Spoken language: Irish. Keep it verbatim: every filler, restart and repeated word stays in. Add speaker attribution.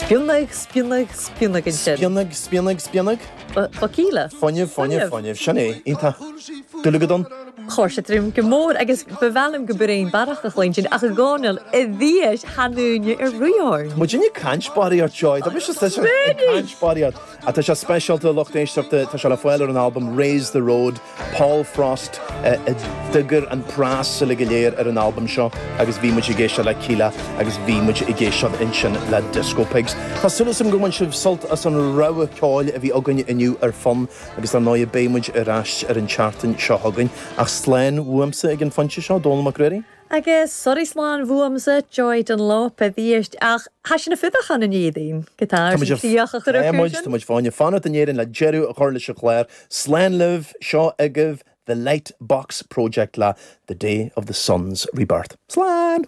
Speaker 1: Spionnaigh spionnaigh spionnaigh ansin.
Speaker 2: Spionnaigh spionnaigh spionnaigh?
Speaker 1: Ba Kíla.
Speaker 2: Fuinneamh fuinneamh fuinneamh sin é iontach. Dúlagadon.
Speaker 1: Chuir sé tríom go mór agus ba mhaith liom go b'réin barrach a chluinstin ach i gcónaí i bhfios thanúine ar riorn.
Speaker 2: Muid ag caint barraíocht Joy, Tá mise ag caint barraíocht. A tá sé speisialta lucht éisteachta tá sé le fáil ar an albam Raise the Road, Paul Frost a d'eagraigh an preas le go léir ar an albam seo agus bhí muid ag éisteacht le Kíla agus bhí muid ag éisteacht ansin le Disco Pigs. Tá súil agam gur bhain sibh sult as an rogha ceoil a bhí againn inniu ar Fonn agus ar ndóigh beidh muid ar ais ar an tseachtain seo chugainn ach slán uaimse ag an phointe seo Dónal Mac Ruairí?
Speaker 1: Agus sorry slán uaimse Joy Dunlop a bhíist ach Tá sin na fudachan in éadain go tá tíoch a
Speaker 2: chur Tá muid fáinne fanacht in Éirinn le deireadh a chur leis an chlár Slán libh seo agaibh The Light Box Project le The Day of the Sun's Rebirth. Slán!